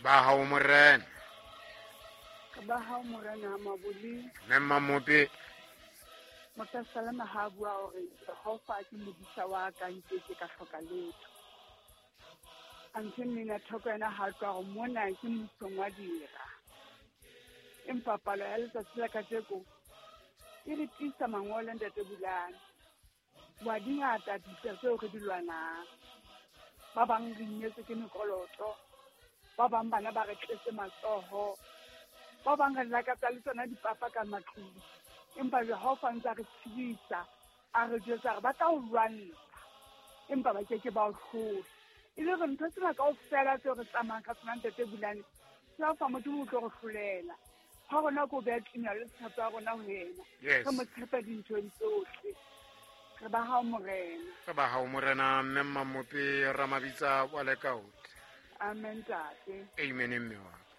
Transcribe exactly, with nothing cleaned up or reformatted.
Ba hao morena. Ba hao morena Maboli. Mme Mmamope. Mopesalema ha bua hore Jehova ke modisa wa ka, nkeke ka hloka letho. Anthe mmina thoko yena ha tloha hore mona ke mmusong wa dira. Empa palo ya letsatsi la kajeko e re tiisa mangolo, ntate Bulane. Wa dingata dintwa tseo re di lwanang. Ba bang re inyetse ke mekoloto, ba bang bana ba re tletse matsoho, ba bang re lakatsa le tsona dipapa ka matlung. Empa Jehova ntse a re tshedisa, a re jwetsa hore ba tla o lwantsha, empa ba keke ba o hlola. E le hore ntho tsena kaofela tseo re tsamayang ka tsona, ntate Bulane, Jehova Modimo o tlo re hlolela. Ha rona ko beha tumelo le tshepo ya rona ho yena. Yes. Re mo tshepe dinthong tsohle. Re ba hao morena. Re ba hao morena, mme Mmamope Ramabitsa wa Lekaote. Amen, ntate. Amen, mme wa ka.